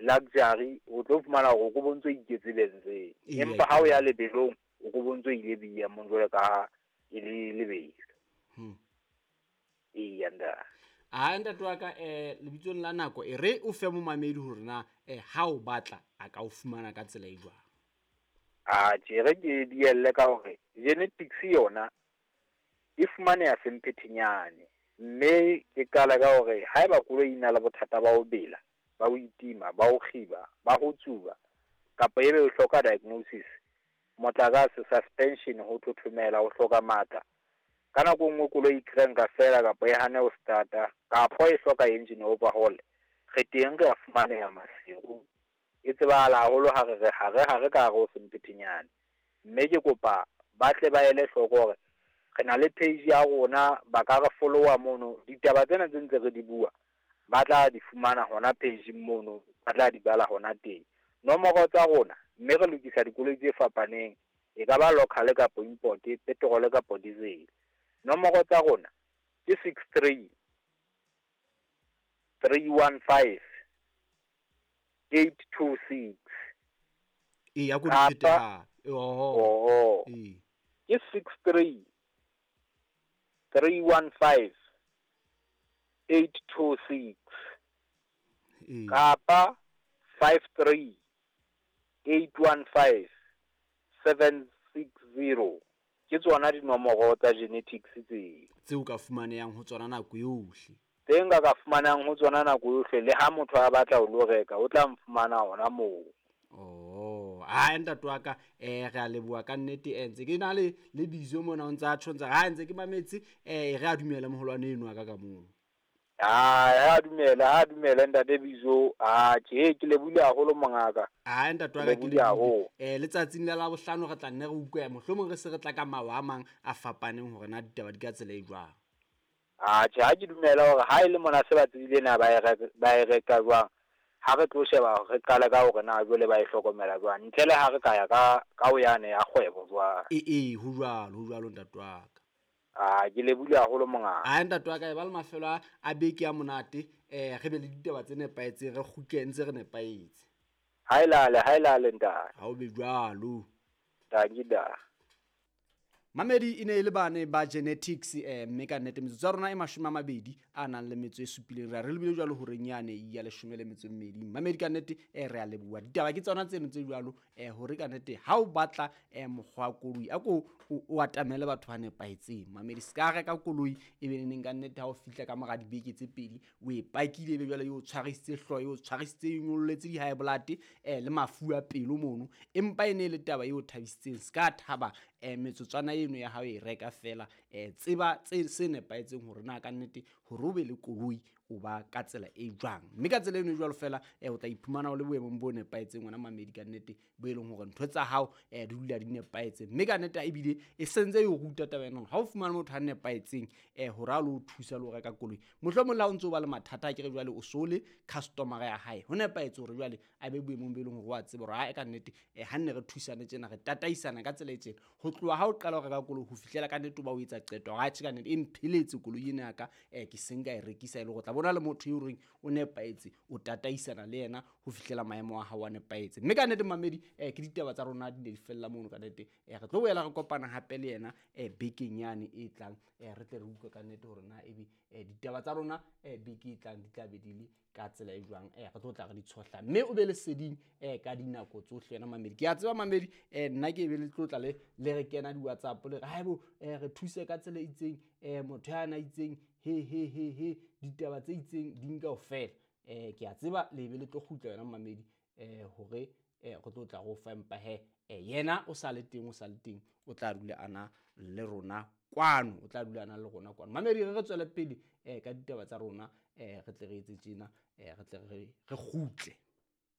Luxury o tlo fumana hore o ko bontso iketse benzeng. Empa ha o ya lebelong o ko bontso ile BM jwalo ka e le lebelo. Eya ntate. A ntate wa ka lebitsong la nako e re o fe momamedi hore na ha o batla a ka o fumana ka tsela e jwang. A tjhe re ke dielle ka hore genetics yona e fumaneha Semphetenyane, mme ke qala ka hore haeba koloi e na le bothata ba ho bela, ba ho itima, ba ho kgiba, ba ho tsuba, kapa ebe o hloka diagnosis, motlakase, suspension, ho thothomela, ho hloka matla. Ka nako nngwe koloi e cranka fela kapa e hane ho starta, kapa e hloka engine overhaul, re teng re a fumaneha Maseru. E tsebahala haholo ha re re hare hare ka hare ho Semphetenyane. Mme ke kopa ba tle ba ele hloko hore re na le page ya rona, ba ka re follow-a mono. Ditaba tsena tse ntse re di bua, ba tla di fumana hona page-ing mono, ba tla di bala hona teng. Nomoro tsa rona, mme re lokisa dikoloi tse fapaneng, e ka ba local kapa import, petrol kapa diesel. Nomoro tsa rona ke 63 315 826. E ya ko di phete hape. Oho. Oho. Ee. Ke 63 315 826. Ee. Kapa 53 815 760. Ke tsona dinomoro tsa genetics tseo. Tseo ka fumanehang ho tsona nako yohle. Tse nka ka fumanang ho tsona nako yohle, le ha motho a batla ho lo reka, o tla mfumana hona moo. Oh, a ntate wa ka re a leboha ka nnete. Ntse ke na le le bizo mona o ntsa tjho ntse ha ntse ke mametse re a dumela moholwane eno wa ka ka moo. Ha dumela, ha dumela ntate Bizo. A tjhe, ke lebohile haholo mongaka. A ntate wa ka ke Lebohile haholo. Letsatsing la Labohlano re tla nne re utlwe mohlomong re se re tla ka mawa a mang a fapaneng hore na ditaba di ka tsela e jwang. A tjhe, ha ke dumela hore ha e le mona se ba tsebile na ba e reka, ba e reka jwang. Ha re tlo sheba re qale ka hore na jwale ba e hlokomela jwang. Ntle le ha re ka ya ka ho yane ya kgwebo jwang. Ee, ho jwalo, ho jwalo ntate wa ka. A ke lebohile haholo mongaka. A ntate wa ka e ba le mafelo a beke a monate, re be le ditaba tse nepahetseng, re kgutle ntse re nepahetse. Ha e lale, ha e lale ntate. Ha o be jwalo. Dankie da. Mamedi e ne e le bane ba genetics mme ka nnete metsotso ya rona e 27 a nang le metso e supileng re a re lebile jwalo horeng yane ya 12. Mamedi ka nnete re a leboha. Ditaba ke tsona tseno tse jwalo hore ka nnete ha o batla mokgwa wa koloi a ko o atamele batho ba nepahetseng. Mamedi se ka reka koloi e be neng ka nnete ha o fihla ka mora dibeke tse pedi o e pakile ebe jwale e o tshwarisitse hlooho, e o tshwarisitse e nyolletse di-high blood le mafu a pelo mono, empa e ne e le taba e o thabisitseng. Se ka thaba metsotswana eno ya hao e reka fela, tseba tse se nepahetseng hore na ka nnete hore o be le koloi o ba ka tsela e jwang, mme ka tsela eno e jwalo fela o tla iphumana o le boemong bo nepahetseng wena mamedi ka nnete, bo e leng hore ntho tsa hao di dula di nepahetse. Mme ka nnete ebile e sentse e o ruta taba ena hore ha o fumana motho a nepahetseng hore a lo thusa le ho reka koloi, mohlomong le ha o ntso ba le mathata a kere jwale o so le customer ya hae, ho nepahetse hore jwale a be boemong bo e leng hore wa tseba hore ha ka nnete ha nne re thusane tjena, re tataisana ka tsela e tjena ho tloha ha o qala ho reka koloi ho fihlela ka nnete o ba o etsa qeto hore atjhe ka nnete e mpheletse koloi ena ya ka, ke seng ka e rekisa e le hore tla bona le motho eo reng o nepahetse, o tataisana le yena ho fihlela maemo a hao a nepahetse. Mme ka nnete mamedi ke ditaba tsa rona di ne di fella mono ka nnete. Re tlo boela re kopana hape le yena bekeng yane e tlang, re tle re utlwe ka nnete hore na ebe ditaba tsa rona beke e tlang di tla be di le ka tsela e jwang, re tlo tla re di tshohla. Mme o be leseding ka dinako tsohle wena mamedi. Ke a tseba mamedi nna ke be le tlotla le re kena di-WhatsApp le re haebo re thuse ka tsela e itseng, motho ya na itseng he he he he ditaba tse itseng di nka ofela. Ke a tseba le be le tlo kgutla wena mamedi hore re tlo tla go fa, empa he yena o sa le teng, o sa le teng, o tla dula a na le rona kwano, o tla dula a na le rona kwano. Mamedi re tswele pele ka ditaba tsa rona, re tle re etse tjena, re tle re kgutle.